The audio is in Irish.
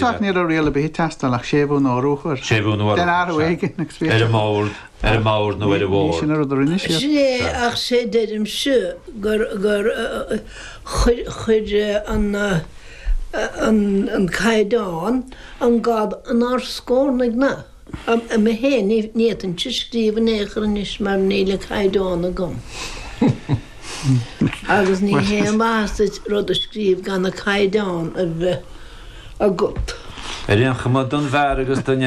Ach ní raibh riail ar bith ag teastáil ach séimhiú nó urú a chur. Séimhiú nó urú, Den athrú éigin agus bhí. Ar an mbord, ar an mbord nó ar an bhord. Ní sin an rud a rinne siad. Sin é ach sé deirimse gur gur chuir chuir an an an caighdeán an gad inár scornaigh na. Mé féin, ní fhéadfainnse scríobh in aon chor anois mar níl an caighdeán agam. Agus ní haon mhaitheas duit rud a scríobh gan an caighdeán a bheith agat. Ar aon chuma, don bhfear agus don.